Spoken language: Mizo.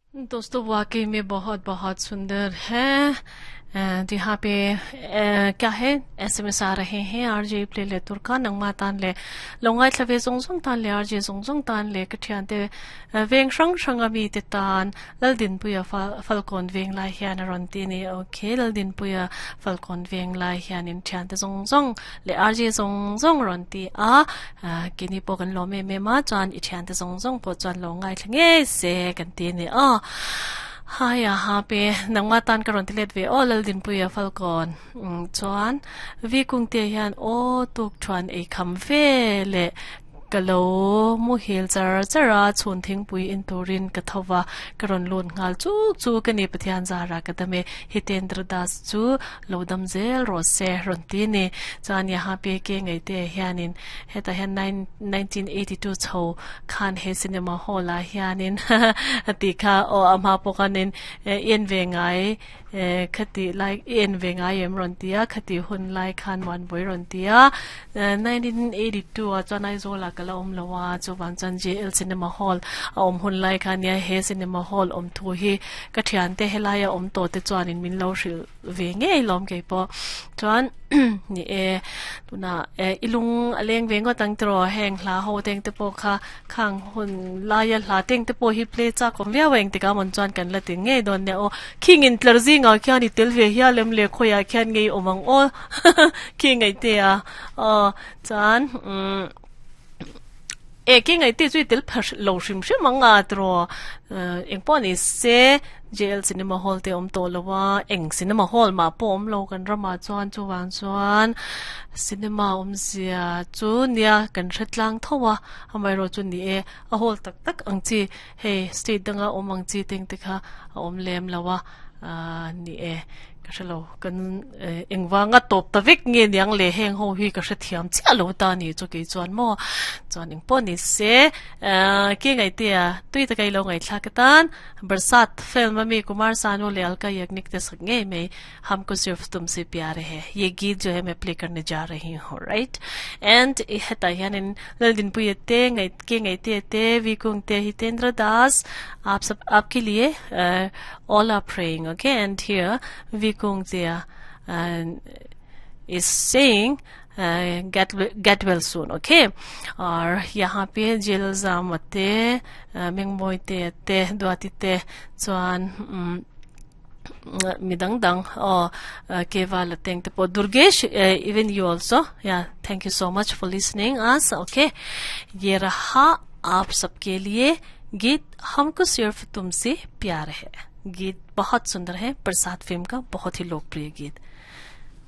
दोस्तों, वाकई में बहुत बहुत सुंदर है। यहाँ पे क्या है, एसएमएस आ रहे हैं। आरजे प्ले ले तुरका नंगमा तान ले लोंगाई थवे जोंग जोंग तान ले आरजे जोंग जोंग तान ले कठियान ते वेंग शंग शंग अमी ते तान लल दिन पुया falcon वेंग लाई हियान रन ती ni। Okay, लल दिन पुया falcon वेंग लाई हियान इन thian te zong zong le RJ zong zong ron ti a kini po kan lo me me ma chuan i thian te zong zong po chuan lo ngai thlenge se kan ti ni a hai a ha pe nangma tan ka ron ti let ve o lal din puya falcon chuan vi kung te hian o tuk chuan ei kham ve le kalo mu hil char chara chun thing pui in turin ka thawa karon lun ngal chu chu ka ni pathian zara ka dame Hitendra Das chu lodam zel ro se ron ti ni chuan ya pe ke ngai te hianin heta hian 1982 chho khan he cinema hall a hianin ti kha o ama pokanin en ve ngai khati lai en ve ngai em ron tia khati hun lai khan wan boi ron tia 1982 a chuan Aizawl kala om lawa chu wan chan JL Cinema Hall a om hun lai khan ya he cinema hall om thu hi ka thian te helai a om to te chuan in min lo hril ve nge lom ke po chuan ni e tuna e ilung aleng ve ngo tang tro heng hla ho teng te po kha khang hun lai a hla teng te po hi play cha kom via weng te ka mon chuan kan la ti nge don ne o king in tlar zi nga khian i tel ve hiya lem le khoya khian ngei omang o king ngai te a o chuan e ki ngai ti chui tel phar lo hrim hrim anga tro eng pawh ni se JL Cinema Hall te awm tawh lo a eng cinema hall mah pawh awm lo kan ramah chuan chuvang chuan cinema awmzia chu nia kan hre tlang tho a amaherawh chu ni e a hall tak tak ang chi hei state danga awm ang chi teng te kha a awm lem lo a ni e. Ka hre lo, kan engvanga tawp ta vek nge niang le heng ho hi ka hre thiam chiah lo ta ni chu kei chuan maw chuan eng pawh ni se ke ngaihtea tui taka i lo ngaihthlak atan Barsat film ami Kumar Sanu leh Alka Yagnik te sak ngei mai Humko Sirf Tumse Pyar Hai ye geet jo hai main play karne ja rahi hu right and hetah hianin Laldinpuia te ke ngaihtea te Vikung te Hitendra Das aap sab aapke liye all are praying okay and here Vikung Tia is saying get well soon okay और यहाँ पे jail zamate mengmoi te te duati te chuan midang dang o keval teng te po Durgesh, even you also, yeah, thank you so much for listening us okay। ये रहा आप सबके लिए गीत हमको सिर्फ तुमसे प्यार है। गीत बहुत सुंदर है, प्रसाद फिल्म का बहुत ही लोकप्रिय गीत।